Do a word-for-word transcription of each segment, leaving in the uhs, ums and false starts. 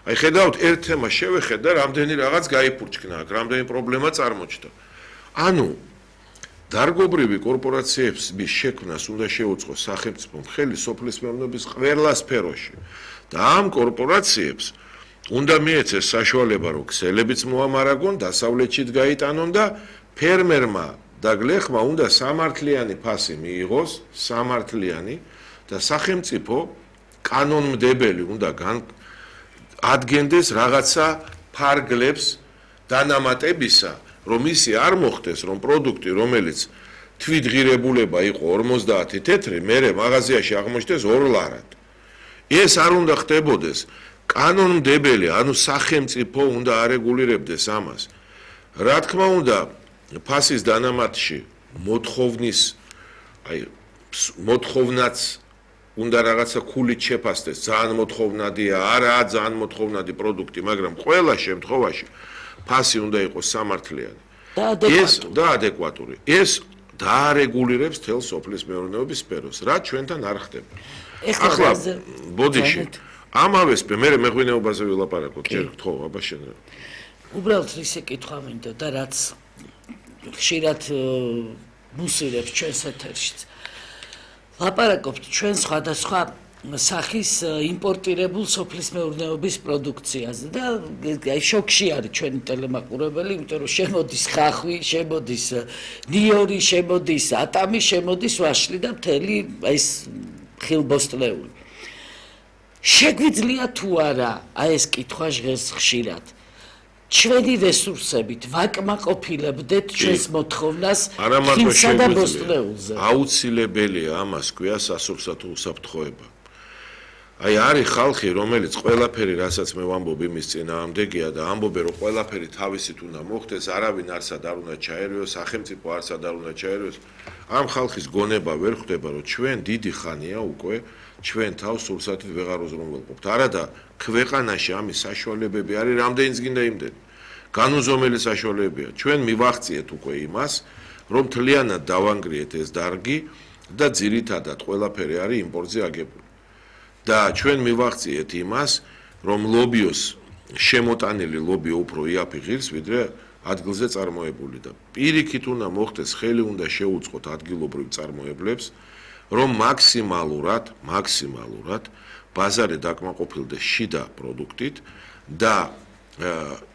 აი ხედავთ ერთ თემას შევეხეთ და რამდენი რაღაც გაიფურჩქნა აქ, რამდენი პრობლემა წარმოჩნდა. ანუ დარგობრივი კორპორაციების შექმნას უნდა შეუწყოს სახელმწიფომ ხელი სოფლის მეურნეობის ყველა სფეროში. და ამ კორპორაციებს უნდა მიეცეს საშუალება, რომ ქსელებიც მოამარაგონ, დასავლეთშიც გაიტანონ და ფერმერმა და გლეხმა უნდა სამართლიანი ფასი მიიღოს, სამართლიანი და სახელმწიფო კანონმდებელი უნდა ადგენდეს რაღაცა ფარგლებს დანამატებისა, რომ ისი არ მოხდეს, რომ პროდუქტი, რომელიც თვითღირებულება იყო ორმოცდაათი თეთრი, მერე მაღაზიაში აღმოჩნდეს ორ ლარად. ეს არ უნდა ხდებოდეს. კანონმდებელი, ანუ სახელმწიფო უნდა არეგულირებდეს ამას. რა თქმა უნდა, ფასის დანამატში მოთხოვნის, აი, მოთხოვნაც უნდა რაღაცა ქულით შეფასდეს, ძალიან მოთხოვნადია, არაა ძალიან მოთხოვნადი პროდუქტი, მაგრამ ყველა შემთხვევაში ფასი უნდა იყოს სამართლიანი. ეს და ადეკვატური. ეს დაარეგულირებს თელ სოფლის მეურნეობის სფეროს, რაც ჩვენთან არ ხდება. ახლა ბოდიში ამავე სფერო, მე მეღვინეობაზე ვილაპარაკოთ, ჯერ გთხოვ, აბა შენ. უბრალოდ ისე კითხვა მინდა და რაც ხშირად მუსილებს ჩვენს ეთერშიც. ლაპარაკობთ ჩვენ სხვადასხვა სახის იმპორტირებულ სოფლის მეურნეობის პროდუქციაზე და აი შოქში არის ჩვენი ტელემაყურებელი, იმიტომ რომ შემოდის ხახვი, შემოდის ნიორი, შემოდის ატამი, შემოდის ვაშლი და მთელი ეს ხილბოსტლეული. შეგვიძლია თუ არა აი ეს კითხვა ჟღერს ხშირად. ჩვენი რესურსებით ვაკმაყოფილებდეთ ჩვენს მოთხოვნას ხილსა და ბოსტლეულზე. აუცილებელია ამას ქვია სასურსათო უსაფრთხოება. აი არის ხალხი, რომელიც ყველაფერი, რასაც მე ვამბობ, იმის წინააღმდეგია და ამბობენ, რომ ყველაფერი თავისით უნდა მოხდეს, არავინ არსად არ უნდა ჩაერიოს, სახელმწიფო არსად არ უნდა ჩაერიოს. ამ ხალხის გონება ვერ ხვდება, რომ ჩვენ დიდი ხანია უკვე ჩვენ თავს სურსათით ვეღარ უზრუნველყოფთ. არადა ქვეყანაში ამის საშუალებები არის, რამდენიც გინდა იმდენი. განუზომელი საშუალებებია. ჩვენ მივახციეთ უკვე იმას, რომ მთლიანად დავანგრიეთ ეს დარგი და ძირითადად ყველაფერი არის იმპორტზე აგებული. და ჩვენ მივახციეთ იმას, რომ ლობიოს შემოტანილი ლობიო უფრო იაფი ღირს, ვიდრე ადგილზე წარმოებული და პირიქით უნდა მოხდეს, ხელი უნდა შეუწყოთ ადგილობრივ წარმოებლებს, რომ მაქსიმალურად, მაქსიმალურად ბაზარი დაკმაყოფილდეს შიდა პროდუქტით და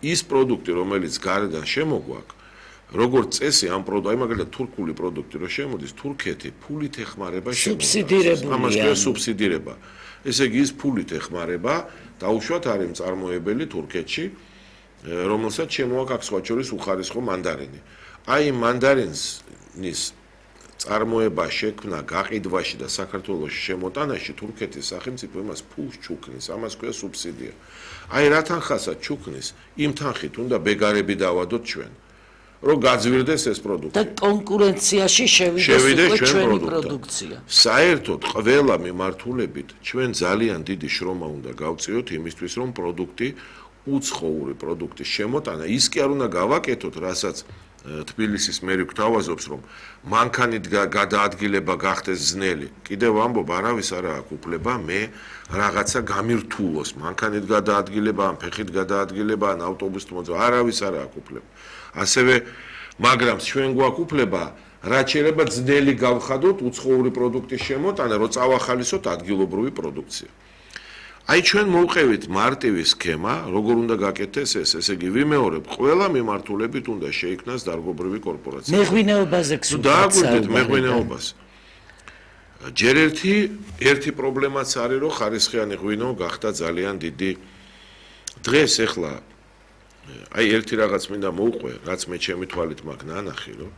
ის პროდუქტი, რომელიც გარედან შემოგვაქვს, როგორც წესი ამ პროდუქტი, აი მაგალითად თურქული პროდუქტი რო შემოდის, თურქეთი ფულით ეხმარება სუბსიდირებულია. ამას ქვია სუბსიდირება. ესე იგი ის ფულით ეხმარება, დაუშვათ არის მწარმოებელი თურქეთში, რომელსაც შემოაქვს აქ სხვა შორის უხარისხო მანდარინი. აი მანდარინის წარმოება შექმნა გაყიდვაში და საქართველოში შემოტანაში თურქეთის სახელმწიფო იმას ფულს ჩუქნის, ამას ქვია სუბსიდია. აი რა თანხასაც ჩუქნის, იმ თანხით უნდა ბეგარები დავადოთ ჩვენ, რომ გაძვირდეს ეს პროდუქტი. და კონკურენციაში შევიდეს უკვე ჩვენი პროდუქცია. საერთოდ ყველა მიმართულებით ჩვენ ძალიან დიდი შრომა უნდა გავწიოთ იმისთვის, რომ პროდუქტი, უცხოური პროდუქტის შემოტანა ის კი არ უნდა გავაკეთოთ, რასაც თბილისის მერი გვთავაზობს, რომ მანქანით გადაადგილება გახდეს ძნელი. კიდევ ვამბობ, არავის არ აქვს უფლება მე რაღაცა გამირთულოს, მანქანით გადაადგილება, ან ფეხით გადაადგილება, ან ავტობუსით მოძრაობა, არავის არ აქვს უფლება. ასევე, მაგრამ ჩვენ გვაქვს უფლება, რაც შეიძლება ძნელი გავხადოთ უცხოური პროდუქტის შემოტანა, რომ წავახალისოთ ადგილობრივი პროდუქცია. აი ჩვენ მოვყევით მარტივი სქემა, როგორ უნდა გაკეთდეს ეს, ესე იგი ვიმეორებ, ყველა მიმართულებით უნდა შეიქმნას დარგობრივი კორპორაცია. მეღვინეობაზე გსურთ. დააგვირდეთ მეღვინეობას. ჯერ ერთი ერთი პრობლემაც არის, რომ ხარისხიანი ღვინო გახდა ძალიან დიდი. დღეს ეხლა აი ერთი რაღაც მინდა მოვყვე, რაც მე ჩემი თვალით მაქვს ნანახი, რომ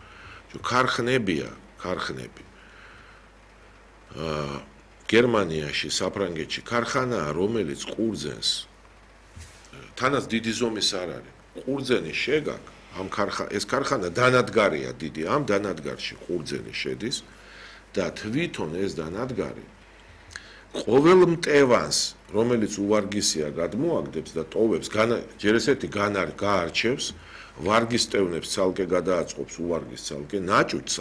ქარხნებია, ქარხნები. აა გერმანიაში, საფრანგეთში ქარხანაა, რომელიც ყურძენს თანაც დიდი ზომის არ არის. ყურძენი შეგაკ, ამ ქარხანა, ეს ქარხანა დანადგარია დიდი, ამ დანადგარში ყურძენი შედის და თვითონ ეს დანადგარი ყოველ მტევანს, რომელიც უვარგისია გადმოაგდებს და ტოვებს, ჯერ ესეთი განარ გაარჩევს, ვარგის ტევნებს ცალკე გადააწყობს უვარგის ცალკე, ნაჭუჭს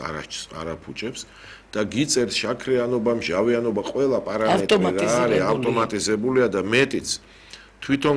არაფუჭებს და გიწერს შაქრიანობა, მჟავიანობა, ყველა პარამეტრი რა არის ავტომატიზებულია და მეტიც თვითონ